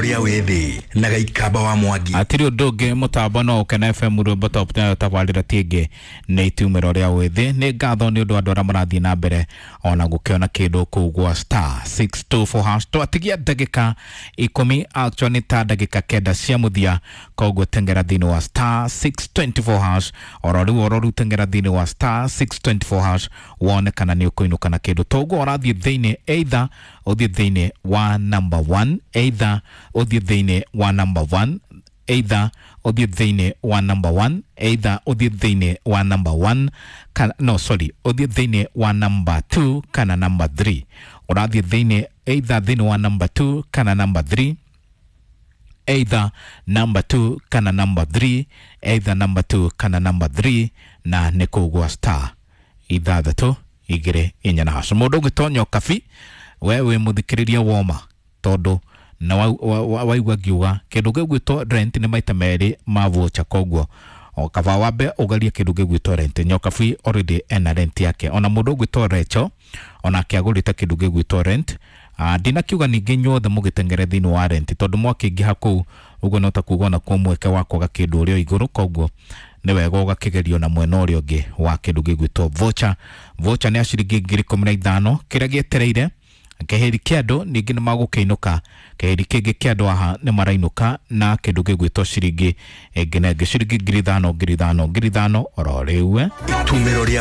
Rĩa wĩthĩ na Gaikamba wa Mwangi. Atiri ũndũ ũngĩ mũtambo no ũkena FM rwĩmbo top nayo tabarĩra ti ĩngĩ nĩ itumĩro rĩa wĩthĩ. Nĩ ngatho nĩ ũndũ wa andũ arĩa marathiĩ na mbere ona gũkĩona kĩndũ kũu gwa star 624 hash. Twatigia ndagĩka 10, actually nĩ ta ndagĩka 9 cia mũthia, koguo tengera thĩinĩ wa star 624 hash oro rĩu, oro rĩu tengera thĩinĩ wa star 624 hash wone kana nĩ ũkũinũka na kĩndũ. Toguo ũrathiĩ thĩinĩ, either ũthiĩ thĩinĩ wa number 1, either ũthiĩ thĩinĩ wa number 1, either ũthiĩ thĩinĩ wa number 1, either ũthiĩ thĩinĩ wa number 1 kana no sorry, ũthiĩ thĩinĩ wa number 2 kana number 3. Ũrathiĩ thĩinĩ either thĩinĩ wa number 2 kana number 3, either number 2 kana number 3, either number 2 kana number 3, na nĩ kũu gwa star 6 2 4 na hash. Mũndũ ũngĩtonya kabi we wĩ mũthikĩrĩria woma, tondũ na waigua ngiuga kĩndũ gĩgwĩtwo rent nĩ maita merĩ ma voucher, koguo o kaba wambe ũgerie kĩndũ gĩgwĩtwo rent. Nyokabi already ena rent yake, ona mũndũ ũgwĩtwo Recho onake agũrĩte kĩndũ gĩgwĩtwo rent. Ndinakiuga ningĩ inyuothe mũgĩteng'ere thĩinĩ wa rent, tondũ mwakĩingĩha kũu ũguo no ta kuga ona kuo mweke wa kwaga kĩndũ ũrĩa igũrũ, koguo nĩ wega ũgakĩgerio na mwena ũrĩa ũngĩ wa kĩndũ gĩgwĩtwo voucher. Voucher nĩ ya ciringi 15,000. Kĩrĩa gĩetereire keheri kĩa andũ ningĩ nĩ magũkĩinũka, keheri kĩngĩ kĩa andũ aha nĩ marainũka na kĩndũ gĩgwĩtwo ciringi ĩngĩ na ĩngĩ, ciringi 5,000 5,000 5,000 oro rĩu. Itumĩro rĩa